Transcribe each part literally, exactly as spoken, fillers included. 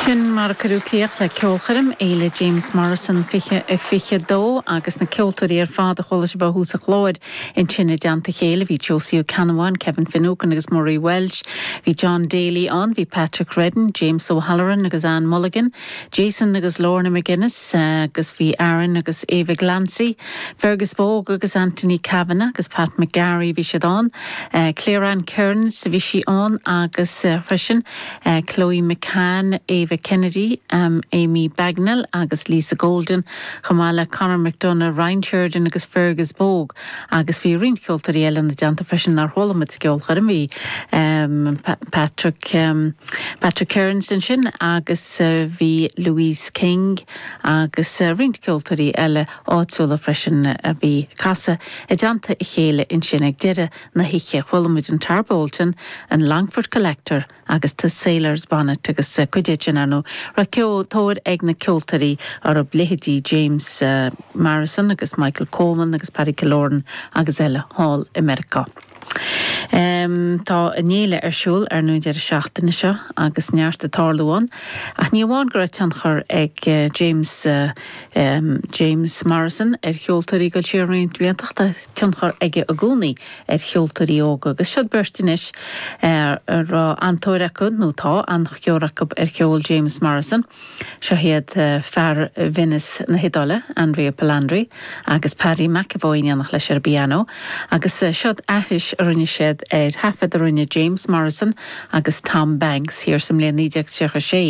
Sin mar a cuireadh críoch le ceolchoirm Fhéile James Morrison fiche a fiche dó agus na ceoltóirí ar fad a chuala sibh ó thús an chláir ansin i dteannta a chéile bhí Josie Ó Ceannabháin, Kevin Finucane agus Murray Walsh, bhí John Daly ann, bhí Patrick Redden, James O'Halloran agus Anne Mulligan, Jason agus Lorna McGuinness agus bhí Aaron agus Eva Glancy, Fergus Bogue agus Anthony Kavanagh agus Pat McGarry bhí siad ann, uh, Claire Ann Kearns bhí sí ann agus uh, freisin uh, Chloe McCann, Eva Kennedy, um, Amy Bagnall agus Lisa Golden, chomh maith le Conor McDonough, Ryan Sheridan agus Fergus Bogue agus bhí roinnt ceoltóirí eile ina dteannta freisin nár chuala muid sa gceolchoirm bhí um, pa Patrick um, Patrick Kearns ansin agus uh, bhí Louise King agus uh, roinnt ceoltóirí eile áitiúla freisin a bhí ag casadh i dteannta a chéile ansin ag deireadh na hoíche chuala muid an Tarbolton, an Longford Collector agus The Sailors Bonnet agus uh, cuid sin anú ra ceoltóir ag na ceoltóirí ar a leithéidí James uh, Morrison agus Michael Coleman agus Paddy Killoran agus eile thall i Meiriceá. Um, tá an fhéile ar siúl ar an deireadh seachtaine seo agus neart ag tarlú ann. Ach ní amháin go raibh tionchar ag uh, James uh, um, James Morrison ar cheoltóirí go siar roinnt blianta tá tionchar aige i gcónaí ar cheoltóirí óga agus siod beirt anois uh, raibh an-tóir acu nó tá an-tóir acu ar cheol James Morrison. Seo hiad uh, fear Venice na hIodáile, Andrea Palandri, agus Paddy McAvoy in éineacht leis ar piano, agus uh, siod aithris a rinne siad ar thaifead a rinne James Morrison agus Tom Banks thiar sa mbliain naoi déag tríocha sé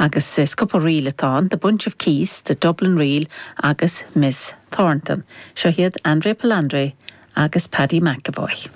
agus is cúpla ríl atá The Bunch of Keys, the Dublin Reel agus Miss Thornton. Seo hiad Andrea Palandri agus Paddy McAvoy.